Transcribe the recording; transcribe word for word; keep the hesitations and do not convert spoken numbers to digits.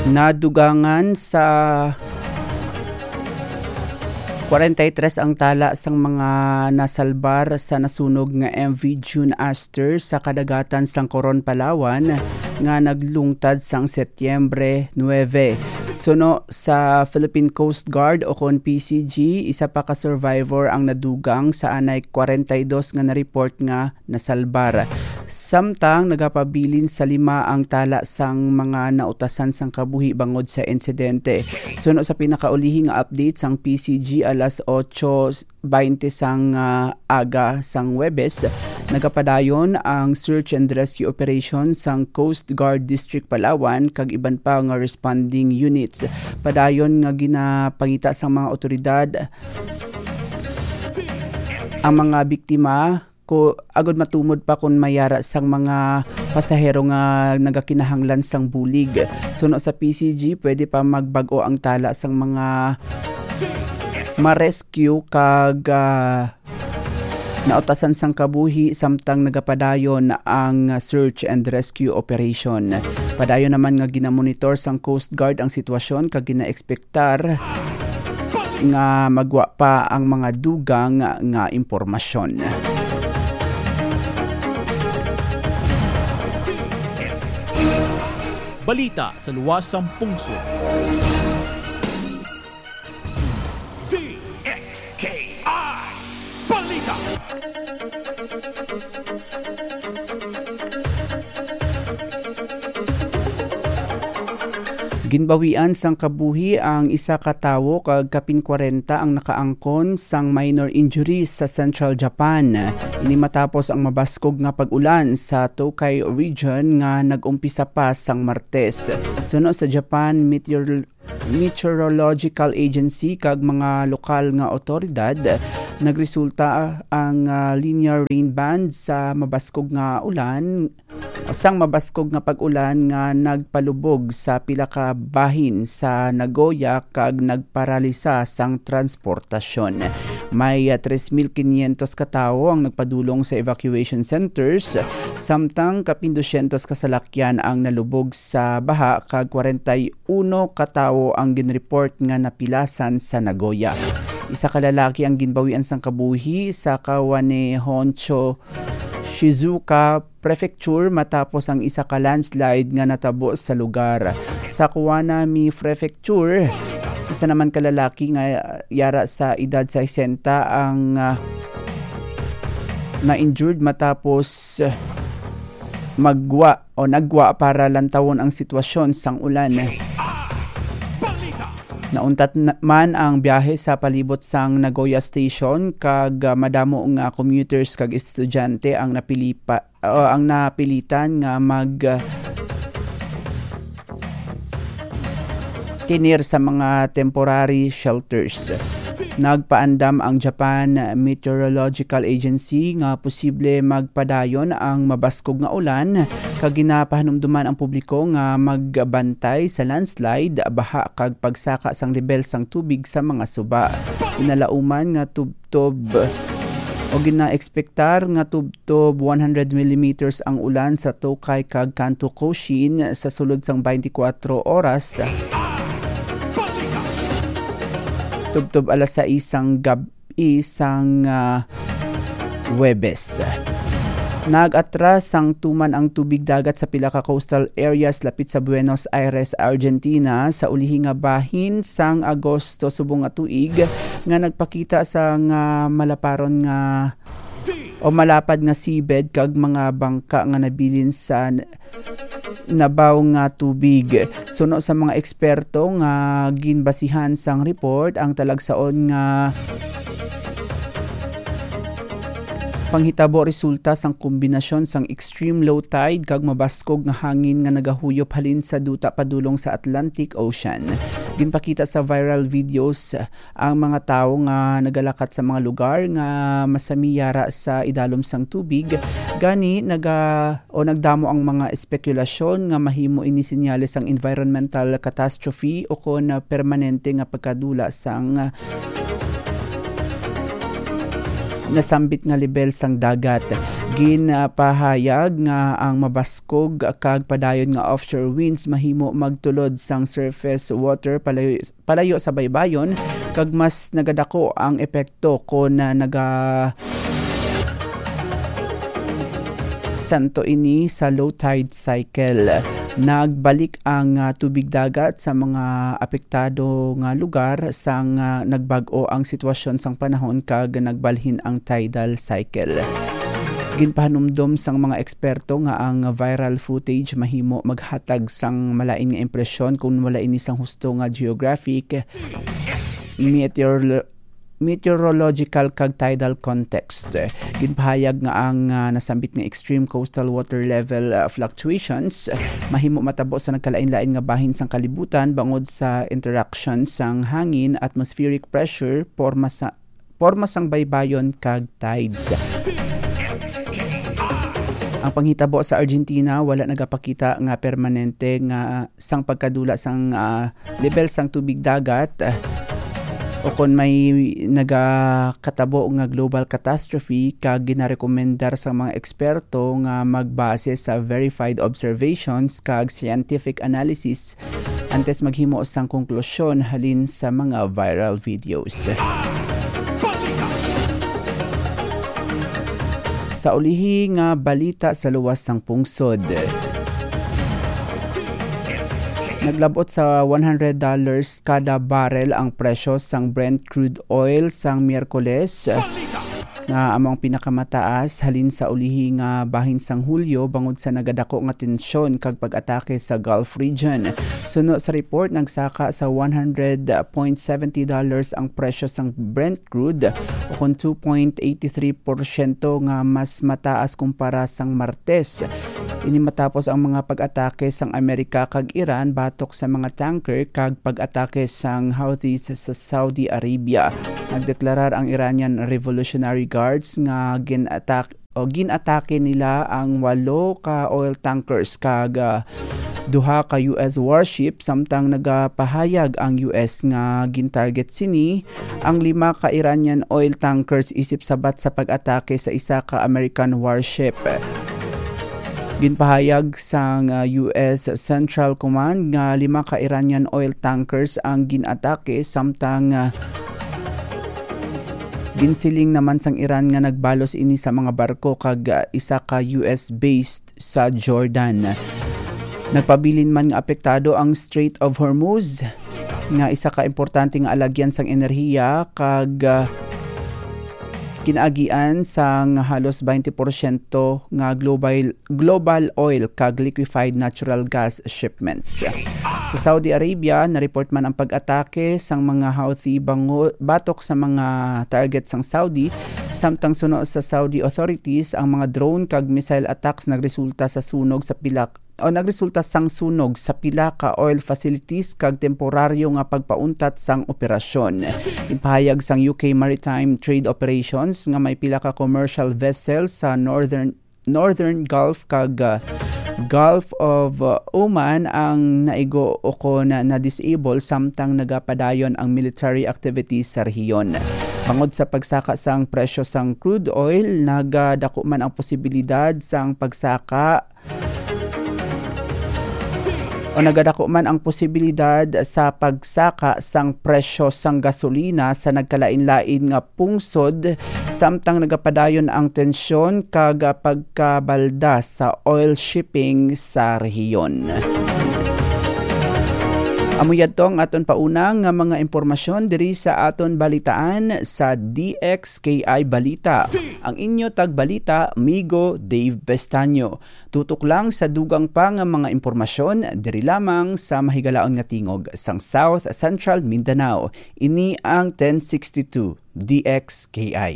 Nadugangan sa kwarenta y tres ang tala sang mga nasalbar sa nasunog nga M V June Aster sa kadagatan sang Coron, Palawan, nga naglungtad sang Setyembre nuebe. Suno sa Philippine Coast Guard o kon P C G, isa pa ka survivor ang nadugang sa anay kwarenta y dos nga na-report nga nasalbar. Samtang nagapabilin sa lima ang tala sang mga nautasan sang kabuhi bangod sa insidente. Suno sa pinakaulihi nga update sang P C G, alas otso baynte sang, ah, aga sang Huwebes, nagapadayon ang search and rescue operation sang Coast Guard District Palawan kag iban pa nga responding units. Padayon nga ginapangita sang mga otoridad ang mga biktima ko agod matumod pa kon may ara sang mga pasahero nga nagakinahanglan sang bulig. Suno sa P C G, pwede pa magbag-o ang tala sang mga ma-rescue kag, ah, nautasan sang kabuhi samtang nagapadayon ang search and rescue operation. Padayon naman nga ginamonitor sang Coast Guard ang sitwasyon kag gina-expect tar nga magwa pa ang mga dugang nga impormasyon. Balita sa luwas sang pungsod. D X K I Balita. Ginbawian sang kabuhi ang isa ka tawo kag kapin kwarenta ang nakaangkon sang minor injuries sa Central Japan. Ini matapos ang mabaskog nga pag-ulan sa Tokay Region nga nag-umpisa pa sang Martes. Suno sa Japan Meteor-, Meteorological Agency kag mga lokal nga awtoridad, nagresulta ang, ah, linear rain band sa mabaskog nga ulan sang mabaskog nga pag-ulan nga nagpalubog sa pila ka bahin sa Nagoya kag nagparalisa sang transportasyon. May, ah, tres mil quinientos ka tawo ang nagpadulong sa evacuation centers, samtang kapin dosyentos ka salakyan ang nalubog sa baha kag kwarenta y uno ka tawo ang ginreport nga napilasan sa Nagoya. Isa ka lalaki ang ginbawian sang kabuhi sa Kawane Honcho Shizuoka Prefecture matapos ang isa ka landslide nga natabo sa lugar. Sa Kuwanami Prefecture, isa naman ka lalaki nga yara sa edad sesenta ang, ah, na-injured matapos, ah, magwa o nagwa para lantawon ang sitwasyon sang ulan. Nauntat na-, man ang biyahe sa palibot sang Nagoya Station kag, ah, madamo nga commuters kag estudyante ang napilipa-, o ang napilitan nga mag, ah, tinir sa mga temporary shelters. Nagpaandam ang Japan Meteorological Agency nga posible magpadayon ang mabaskog nga ulan, kag ginapahanumduman ang publiko nga magbantay sa landslide, baha, kag pagsaka sang lebel sang tubig sa mga suba. Ginalauman nga tubtob o ginaekspektar nga tubtob one hundred millimeters ang ulan sa Tokay kag Kanto Koshin sa sulod sang twenty-four oras. Tubtob alas sais sang gab-i sang, ah, Huwebes. Nag-atras sang tuman ang tubig dagat sa pila ka coastal areas lapit sa Buenos Aires, Argentina, sa ulihi nga bahin sang Agosto subong nga tuig, nga nagpakita sa nga malaparon nga o malapad nga seabed kag mga bangka nga nabilin sa n-, nabaw nga tubig. Suno sa mga eksperto nga ginbasihan sang report, ang talagsaon nga panghitabo resulta sang kombinasyon sang extreme low tide kag mabaskog nga hangin nga nagahuyop halin sa duta padulong sa Atlantic Ocean. Ginpakita sa viral videos ang mga tawo nga nagalakat sa mga lugar nga masami yara sa idalom sang tubig, gani naga-, o nagdamo ang mga espekulasyon nga mahimo ini senyales sang environmental catastrophe o kon permanente nga pagkadula sang nasambit nga lebel sang dagat. Ginapahayag nga ang mabaskog kag padayon nga offshore winds mahimo magtulod sang surface water palayo, palayo sa baybayon, kag mas nagadako ang epekto kon, ah, naga santo ini sa low tide cycle. Nagbalik ang, ah, tubig dagat sa mga apektado nga lugar sang, ah, nagbag-o ang sitwasyon sang panahon kag nagbalhin ang tidal cycle. Ginpahanumdom sang mga eksperto nga ang viral footage mahimo maghatag sang malain nga impresyon kung wala ini sang husto nga geographic, meteorolo-, meteorological kag tidal context. Ginpahayag nga ang, ah, nasambit nga extreme coastal water level, ah, fluctuations mahimo matabo sa nagkalain-lain nga bahin sang kalibutan bangod sa interaction sang hangin, atmospheric pressure, porma sa, porma sang baybayon kag tides. Ang panghitabo sa Argentina wala nagapakita nga permanente nga sang pagkadula sang, ah, level sang tubig dagat, ah, o kon may nagakatabo nga global catastrophe, kag ginarekomendar sa mga eksperto nga magbase sa verified observations kag scientific analysis antes maghimo sang konklusyon halin sa mga viral videos. Sa ulihi nga balita sa luwas sang pungsod. Naglabot sa one hundred dollars kada barrel ang presyo sang Brent crude oil sang Miyerkules, nga amo ang pinakamataas halin sa ulihi nga bahin sang Hulyo bangod sa nagadako nga tensyon kag pag-atake sa Gulf region. Suno sa report, nagsaka sa one hundred point seventy dollars ang presyo sang Brent crude, o kon two point eighty three porsyento nga mas mataas kumpara sang Martes. Ini matapos ang mga pag-atake sang Amerika kag Iran batok sa mga tanker kag pag-atake sang Houthis sa Saudi Arabia. Nagdeklarar ang Iranian Revolutionary Guards nga gin-atak-, o gin-atake nila ang walo ka oil tankers kag, ah, duha ka U S warship, samtang nagapahayag ang U S nga gin-target sini ang lima ka Iranian oil tankers isip sabat sa pag-atake sa isa ka American warship. Ginpahayag sang, ah, U S Central Command nga lima ka Iranian oil tankers ang gin-atake, samtang, ah, ginsiling naman sang Iran nga nagbalos ini sa mga barko kag, ah, isa ka U S based sa Jordan. Nagpabilin man nga apektado ang Strait of Hormuz, nga isa ka importante nga alagyan sang enerhiya kag, ah, kinaagian sang halos twenty porsyento nga global, global oil kag liquefied natural gas shipments. Sa Saudi Arabia, na-report man ang pag-atake sang mga Houthi bango-, batok sa mga target sang Saudi, samtang suno sa Saudi authorities, ang mga drone kag missile attacks nagresulta sa sunog sa pila o nagresulta sang sunog sa pila ka oil facilities kag temporaryo nga pagpauntat sang operasyon. Ginpahayag sang U K Maritime Trade Operations nga may pila ka commercial vessels sa Northern, Northern Gulf kag, uh, Gulf of, uh, Oman ang naigo o kon na-disable samtang nagapadayon ang military activities sa rehiyon. Bangod sa pagsaka sang presyo sang crude oil, nagadako man ang posibilidad sang pagsaka o nagadako man ang posibilidad sa pagsaka sang presyo sang gasolina sa nagkalain-lain nga pungsod, samtang nagapadayon ang tensyon kag pagkabalda sa oil shipping sa rehiyon. Amo yadto ang aton pauna nga mga impormasyon diri sa aton balitaan sa D X K I Balita. Ang inyo tagbalita, Migo Dave Pestaño. Tutok lang sa dugang pa nga mga impormasyon diri lamang sa mahigalaon nga tingog sang South Central Mindanao. Ini ang ten sixty-two D X K I.